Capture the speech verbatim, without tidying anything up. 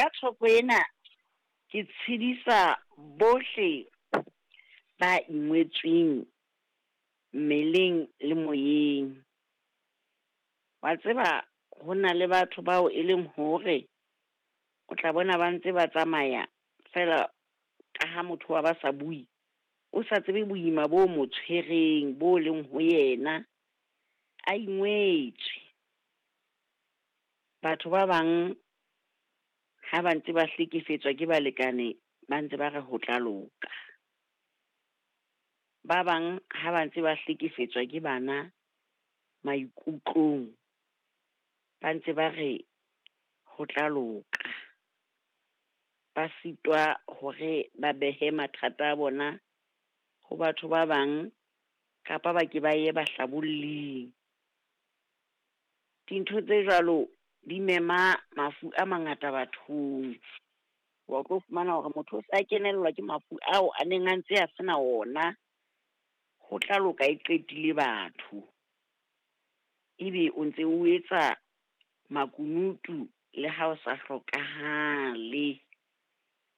Ka thoko ena, ke tshedisa bohle ba ingwetsweng mmeleng le moyeng. Wa tseba ho na le batho bao e leng hore o tla bona ba ntse ba tsamaya feela ka ha motho wa ba sa bue, o sa tsebe boima bo mo tshwereng, bo leng ho yena a ingwetswe. Batho ba bang ha ba ntse ba hlekefetswa ke balekane ba ntse ba re ho tla loka. Ba bang ha ba ntse ba hlekefetswa ke bana maikutlong, ba ntse ba re ho tla loka. Ba sitwa hore ba behe mathata a bona ho batho ba bang, kapa ba ke ba ye bahlabolling. Dintho tse jwalo di mema mafu a mangata bathong, wa tlo fumana hore motho o sa kenellwa ke mafu ao a neng a ntse a se na ona. Ho tla loka e qetile batho, ebe o ntse o etsa makunutu le ha o sa hlokahale.